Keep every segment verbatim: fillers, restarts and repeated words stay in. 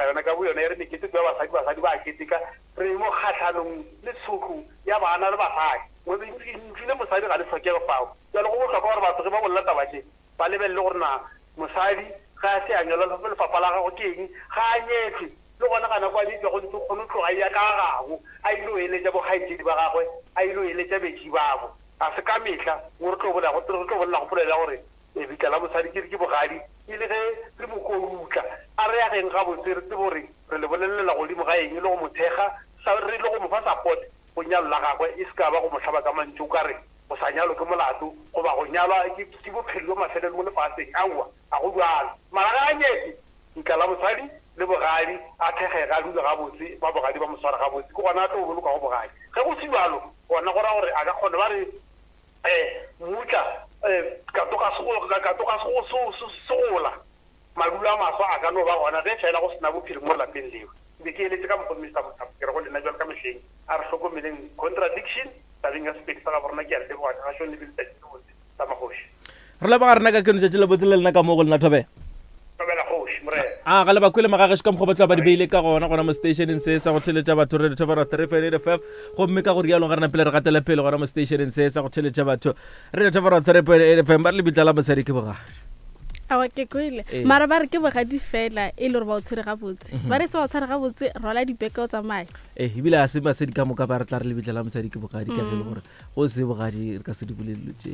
naga yona ka boyona e re meketeko ya basadi, basadi ba a keteka. Re mo kgahlanong le tshotlo ya bana le basadi. Lentšu le mosadi ga le hlokege fao. Bjale go bohlokwa gore batho ge ba bolela taba tše ba lebelele gore na mosadi ge a se a nyalwa lefapha la gagwe ke eng, ga a nyetšwe, le gona ga nako a nyetšwe go ntse kgone go tloga ya ka gago a ile go eletša bokgaetšedi ba gagwe, a ile go eletša betši babo. Ga se ka mehla mo re tlo bolela re tlo bolela go polelo ya gore lebitla la mosadi ke ke bogadi, e le ge re mo korutla. A re ageng gabotse re tsebe gore re le bolelela godimo ga eng le go mo thekga, re le go mo fa support go nyalo la gagwe, e se ka ba go mo hlaba ka mantšu o ka re go sa nyalwe ke molato goba go nyalwa ke bophelo bjo mafelelo mo lefaseng. Aowa, ga go bjalo. Mara ga a nyetše, lebitla la mosadi le bogadi a thekgege, a dule gabotse, ba bogadi ba mo sware gabotse, ke gona a tlo bolokago bogadi. Ge go se bjalo, gona go ra gore a ka kgona ba re um mmutla um katoga segola, madulo a maswa a ka no ba gona ge fela go sena bophelo mo lapeng leo. Ke be ke eletše ka mokgwa Mister Mothapo, ke re go lena bjalo ka mehleng, a re hlokomeleng contradiction tabeng ya Sepedi sa gabo rena. Ke a le leboga ka gašong le be letšatši le botse la magoši. Re leboga rena ka keno tšatši le botse le lena ka mo go lena Thobela. Thobela kgoši morena. A ga le ba kwele magagešo ka mokgwa ba tla ba di beile ka gona gona mo stationeng se sa go theletša batho Radio Thobela three point eight F M. Gomme ka go rialo ga rena pele re gatele pele gona mo stationeng se sa go theletša batho Radio Thobela three point eight F M. Ba re lebitla la mosadi ke bogadi. Aowa, ke kwele. Mara ba re ke bogadi fela e le gore ba o tshwere gabotse. Ba re se ba o tshware gabotse, rwala dibeke o tsamaye. Eh, ebile a se basadi ka moka ba re tla re lebitla la mosadi ke bogadi, ka ge e le gore go se bogadi re ka se di bolele dilo tše.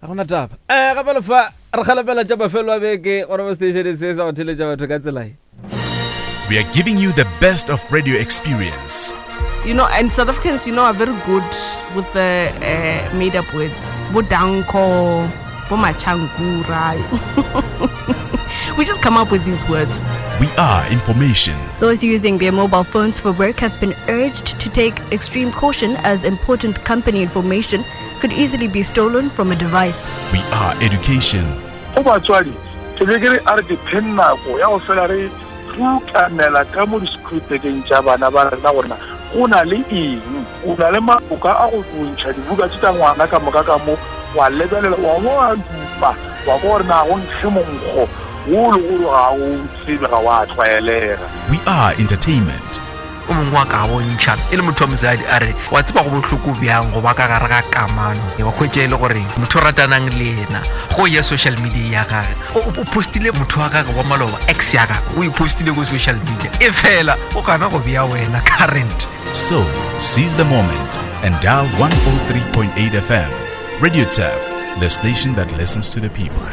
Ga gona taba. Eh, gape le fa re kgalemela tša mafelo a beke gore mo stationeng se sa go theletša batho ka tsela e. We are giving you the best of radio experience. You know, and South Africans, you know, are very good with the uh, made-up words. Bo danko, bo machangura. We just come up with these words. We are information. Those using their mobile phones for work have been urged to take extreme caution as important company information could easily be stolen from a device. We are education. Go batswadi, ke be ke re a re ke phe nako ya go fela re rutamela ka mo di-scripteng tša bana ba rena gore na go na le eng, o na le maboka a go ntšha dibuka tše tša ngwana ka moka ka mo, wa lebelela, wa bo wa dupa, wa kwa gore na go nkge monkgo wo le gore ga o tsebe, ga wa tlwaelega. We are entertainment. O mongwe wa ka bontšha e le motho wa mosadi a re wa tseba go bohloko bjang go ba ka gare ga kamano, wa hwetša e le gore motho o ratanang le yena go ya social media ya gage, o postile motho wa gage wa maloba, ex ya gage, o e postile ko social media, e fela o gana go bea wena current. So seize the moment and dial one oh three point eight F M. Radio Turf, the station that listens to the people.